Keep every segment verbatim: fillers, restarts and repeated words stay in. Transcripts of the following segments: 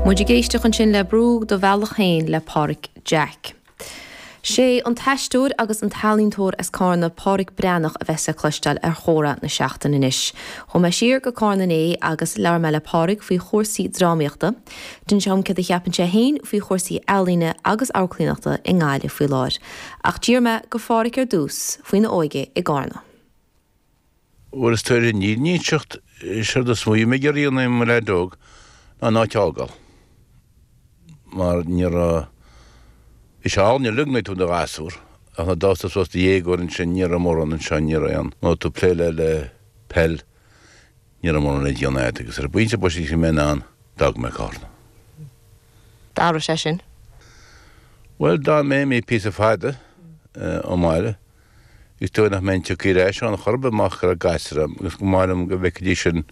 Muid ag éisteacht ansin le Brúigh do Bhealach Féin le Páraic Jack. Sé an t-aisteoir agus an t-ealaíontóir as Cárna Páraic Breathnach a bheas le cloisteáil ar Chomhrá na Seachtaine anois. Chuaigh mé siar go Cárna inné agus labhair mé le Páraic faoi chúrsaí drámaíochta. D'inis sé dom céard a cheapann sé féin faoi chúrsaí ealaíne agus amharclannaíochta i nGaillimh faoi láthair. Ach d'iarr mé de Pháraic ar dtús faoina óige i gCárna. Bhuel is tar ní nísecht sé do smuoi me geíonna mar leidóg ná ná teágal. Mar ní Bhí sé álainn uilig nuair tú i do ghasúr ach nuair a d'fhás tú suas i do dhéagóir ansin ní raibh mórán anseo ní raibh aon nó tú plé le le peil ní raibh mórán le déanamh agat agus ar an bpointe boise bhí mé in ann d'fhág mé Cárna. D'athraigh sé sin. Bhuel d'fhan mé imithe píosa fada ón mbaile Is dóigh nach mbeinn tioctha ar ais ann chor ar bith murach go raibh gasúir agam agus go mba mhaith liom go bhfeicfidís sin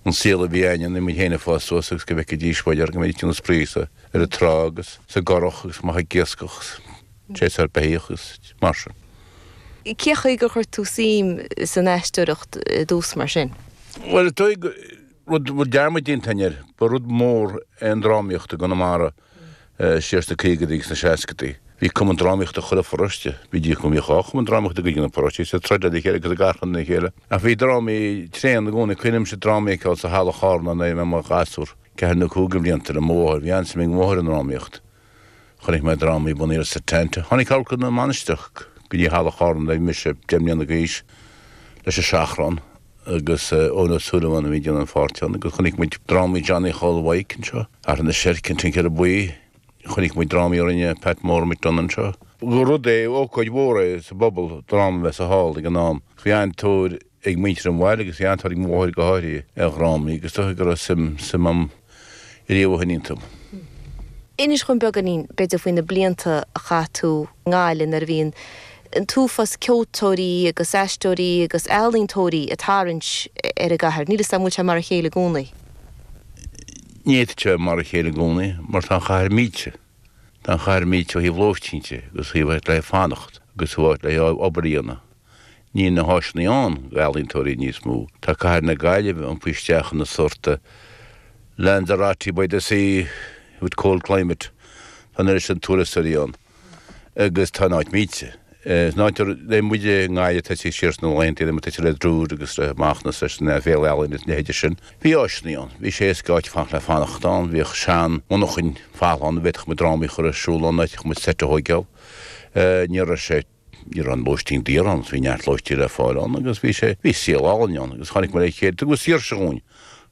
an saol a bhí againne nuair muid féin ag fás suas agus go bhfeicfidís b'fhéidir go mbeidís ag déanamh spraoi sa ar an trá agus sa gcurach agus amach ag iascach agus séasúr beithíoch agus mar sin. Cén chaoi gur chuir tú suim san aisteoireacht i dtús mar sin? Bhuel is dóigh rud bhfuil dearmad déanta againn air, ba rud mór é an drámaíocht i gConamara siar sna caogaidí agus sna seascaidí. Bhí cumann drámaíochta chuile pharóiste. Bhí díobh go mbíodh dhá chumann drámaíochta i gcuid de na paróistí, is ag troid le chéile agus ag achrann lena chéile. Ach bhí drámaí tréan i gcónaí. Cuimhnímse drámaí a fheiceáil sa halla Chárna nuair a bhí mé i mo ghasúr, ceathair nó cúig de bhlianta, le mo mháthair. Bhí an-suim ag mo mháthair i ndrámaíocht. Chonaic mé drámaí bunaithe ar Setanta. Tháinig Amharclann na Mainistreach go dtí halla Chárna nuair a bhí mise deich mbliana d'aois leis an Seachrán agus Eoin Ó Súilleabháin a bhí ag déanamh an pháirt ann agus chonaic muid drámaí Johnny Chóil Mhaidhc anseo, Athair na Seirce, An Tincéara Buí. Chonaic muid drámaí a rinne Pat Mór McDonagh anseo. Gur rud é, ócáid mhór é sa bpobal, dráma a bheith sa hall ag an am. Bhí an-tóir ag muintir an bhaile agus bhí an-tóir ag mo mháthair go háirithe ar dhrámaí agus dóigh go raibh suim, suim a'm riamh ó shin iontu. Inis dhom beagáinín, b'fhéidir, faoi na blianta a chaith tú i nGaillimh nuair a bhí an an t-uafás ceoltóirí agus aisteoirí agus ealaíontóirí ag tarraingt ar an gcathair. Níl 'fhios a'm an bhfuil sé mar a chéile i gcónaí. Ní fhéadfadh sé bheith mar a chéile i gcónaí mar tá an chathair millte. Tá an chathair millte ó thaobh lóistín de agus ó thaobh áit le fanacht agus ó áit le obair a dhéanamh. Níl na háiseanna ann d'ealaíontóirí níos mó. Tá cathair na Gaillimhe iompaithe isteach ina sórt Lanzarote by the sea with cold climate. Tá an oiread sin turasóirí ann agus tá an áit millte. Is an áit a raibh muid i nGaillimh tosaithe siar sna laethanta, bhí muid tosaithe le Druid agus le Macnas leis an Féile Ealaíon is a leithéide sin. Bhí áiseanna ann. Bhí sé éasca áit fanacht le fanacht ann. Bhíodh sean mhonarchain falla ann a bhféadfadh muid drámaí a chur ar siúl ann, a bhféadfadh muid seit a thóigeáil. Ní raibh sé Ní raibh an lóistín daor ann, bhí neart lóistín le fáil ann agus bhí sé, bhí saol álainn ann agus tháinig muid le chéile, tugadh saoirse dhúinn.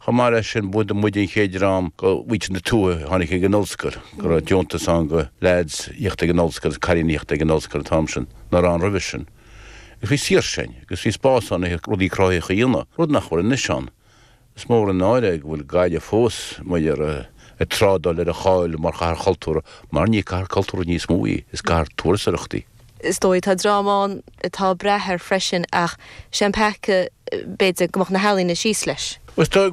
Chomh maith leis sin, ba muid an chéad dream de mhuintir na tuaithe a tháinig ag an ollscoil, go raibh deontas ann do leaids thíocht ag an ollscoil agus cailíní thíocht ag an ollscoil an t-am sin, nach raibh ann roimhe sin. Agus bhí saoirse ann agus bhí spás ann le rudaí cruthaitheacha a dhéanamh, rud nach bhfuil anois ann. Is mór an náire é go bhfuil Gaillimh fós, mar ag trádáil ar a cháil mar chathair chultúrtha, mar ní cathair cultúrtha níos mó í, is cathair turasóireachta í. Is dóigh, tá dream ann atá ag brath air freisin ach sé an peaca, b'fhéidir, go mbeadh na healaíona síos leis. Is dóigh